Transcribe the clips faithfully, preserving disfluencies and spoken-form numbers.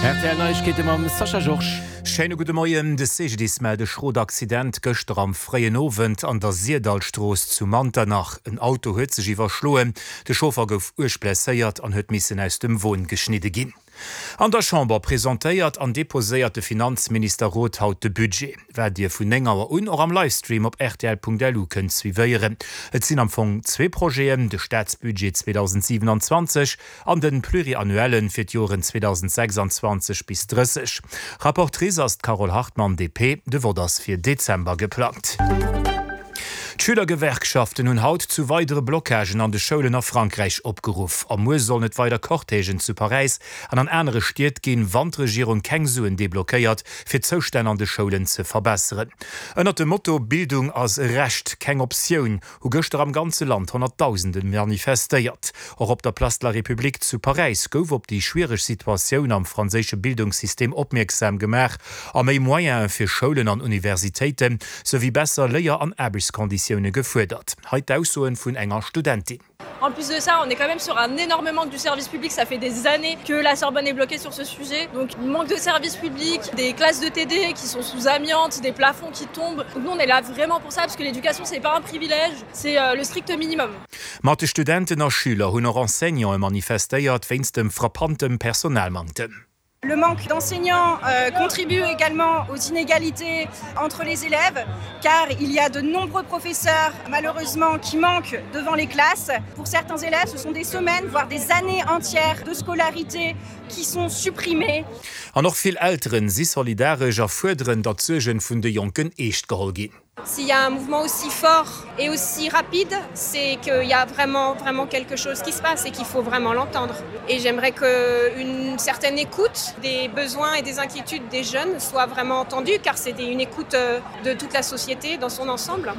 Rtl Neiegkeete mam Sascha Georges. Schéine gudde Moien. De C G D I S mellt e schrot Accident gëschter am fréien Owend an der Sirdallstrooss zu Manternach. En Auto huet sech iwwerschloen, de Chauffer gouf uerg blesséiert an huet missen aus dem Won geschnidde ginn. An der Chamber presentéiert an deposéiert de Finanzminister Roth haut de Budget, wat Dir vun néng Auer un och am Livestream op rtl Punkt L U kënnt suivéieren. Et sinn am Fong zwee Projeten, de Staatsbudget zweedausendsiwenanzwanzeg an de Pluriannuellen fir d'Joren zweedausendsechsanzwanzeg bis drësseg. Rapportrice ass d'Carole Hartmann, D P. De Vott ass fir Dezember geplangt. D'Schülergewerkschaften hunn haut zu weidere Blockagen an de Schoulen a Frankräich opgeruff. A muer sollen et weider Cortègen zu Paräis an an anere Stied ginn, wann d'Regierung keng Suen deblockéiert, fir d'Zoustänn an de Schoulen ze verbesseren. Ënnert dem Motto Bildung ass e Recht, keng Optioun hu gëschter am ganze Land Honnertdausende manifestéiert. Och op der Place de la République zu Paräis gouf op déi schwiereg Situatioun am franséische Bildungssystem opmierksam gemaach a méi Moyene fir Schoulen an Universitéiten, souwéi besser Léier an Aarbechtskonditioune gefuerdert. Hei d'Aussoen vun enger Studentin. En plus de ça, on est quand même sur un énorme manque du service public. Ça fait des années que la Sorbonne est bloquée sur ce sujet. Donc, manque de service public, des classes de T D qui sont sous amiante, des plafonds qui tombent. Donc nous, on est là vraiment pour ça, parce que l'éducation, c'est pas un privilège, c'est euh, le strict minimum. Mat de Studenten a Schüler hunn och Enseignante manifestéiert wéinst dem frappante Personalmanktem. Le manque d'enseignants euh, contribue également aux inégalités entre les élèves, car il y a de nombreux professeurs, malheureusement, qui manquent devant les classes. Pour certains élèves, ce sont des semaines, voire des années entières de scolarité qui sont supprimées. An och vill Elteren si solidaresch a fuerderen, datt d'Suerge vun de Jonken eescht geholl ginn. S'il y a un mouvement aussi fort et aussi rapide, c'est qu'il y a vraiment, vraiment quelque chose qui se passe et qu'il faut vraiment l'entendre. Et j'aimerais qu'une certaine écoute des besoins et des inquiétudes des jeunes soit vraiment entendue, car c'est une écoute euh, de toute la société dans son ensemble.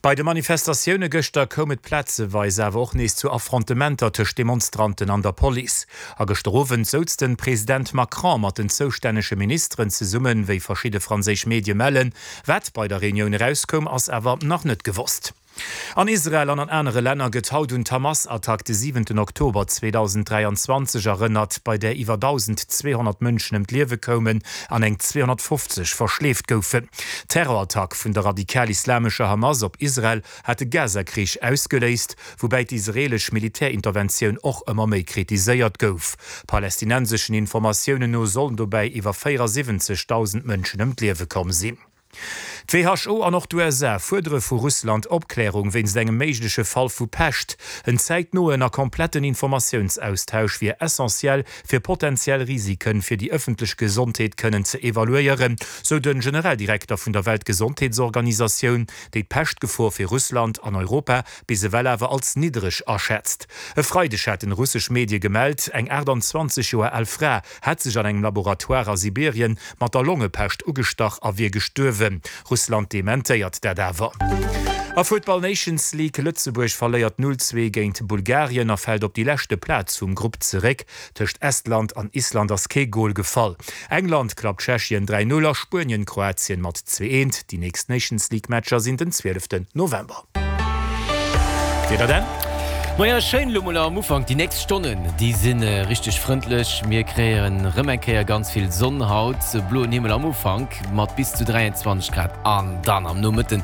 Bei de Manifestatioune gëschter koum et plazeweis awer och nees zu Affrontementer tëscht Demonstranten an der Police. A gëschter Owend souz de President Macron mat den zoustännege Ministeren zesummen, wéi verschidde franséisch Medie mellen. Wat bei der Reunioun erauskoum, ass awer nach net gewosst. An Israel an an anere Länner gëtt haut un d'Hamas-Attack de siwenten Oktober zweedausenddräianzwanzeg erënnert, bei där iwwer dausendzweehonnert Mënschen ëm d'Liewe koumen an eng zweehonnertfofzeg verschleeft goufen. D'Terrorattack vun der radikal-islamescher Hamas op Israel hat de Gaza-Krich ausgeléist, woubäi d'israeelesch Militärinterventioun och ëmmer méi kritiséiert gouf. Palästinenseschen Informatiounen no sollen dobäi iwwer véierasiwwenzegdausend Mënschen ëm d'Liewe komm sinn. D'W H O an och d'U S A fuerdere vu Russland Opklärung wéinst engem méigleche Fall vu Pescht. En zäitnoen a kompletten Informatiounsaustausch wier essentiell fir potentiell Risiken fir déi ëffentlech Gesondheet kënnen ze evaluéieren, sou de Generaldirekter vun der Weltgesondheetsorganisatioun, déi d'Peschtgefor fir Russland an Europa bis ewell awer als niddereg aschätzt. E Freideg haten russesch Medie gemellt, eng aachtanzwanzeg Joer al Fra hätt sech an engem Laboratoire a Sibirien mat der Longepescht ugestach a wier gestuerwen. Russland dementéiert dat awer. A Futtball Nations League, Lëtzebuerg verléiert null zwee géint Bulgarien a fält op déi leschte Plaz vum Grupp zeréck. Tëscht Estland an Island ass kee Gol gefall. England klappt Tschechien dräi null a Spuenien Kroatien mat zwee eent. Déi nächst Nations League Matcher sinn den zwieleften November. Wieder dann? Maja, schéin lo mol am Ufank, déi nächst Stonnen, déi si richteg frëndlech. Mir kréien rëm eng Kéier ganz vill Sonn haut, bloen Himmel am Ufank mat bis zu dräianzwanzeg Grad an dann am Nomëtten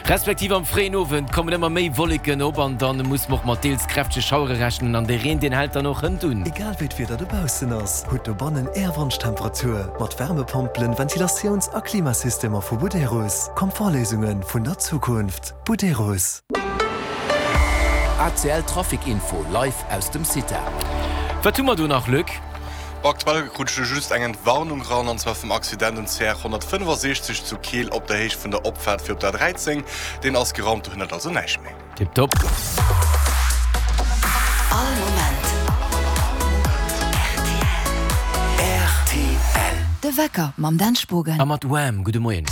respektiv am fréien Owend kommen ëmmer méi Wolleken op an dann muss mer och mat deels kräftege Schauere rechnen an de Reen deen hält dann och hënt un. Egal wéi d'Wieder dobaussen ass, hutt dobannen Är Wonschtemperatur mat Wärmepompelen, Ventilatiouns a Klimasystemer vu Buderus. Komfortléisunge vun der Zukunft. Buderus. A C L Trafic Info live aus dem Cita. Wat hu mer do nach, Luc? Aktuell krut ech just eng Entwarnung ran an zwar vum Accident um C R honnertfënnefasechzeg zu Keel op der Héicht vun der Opfaart fir op der dräizéng. Deen ass geraumt, do hënnert also näischt méi. Tiptop. All Moment R T L. De Wecker mam Dan Spogen. A mat Wham! Gudde Moien.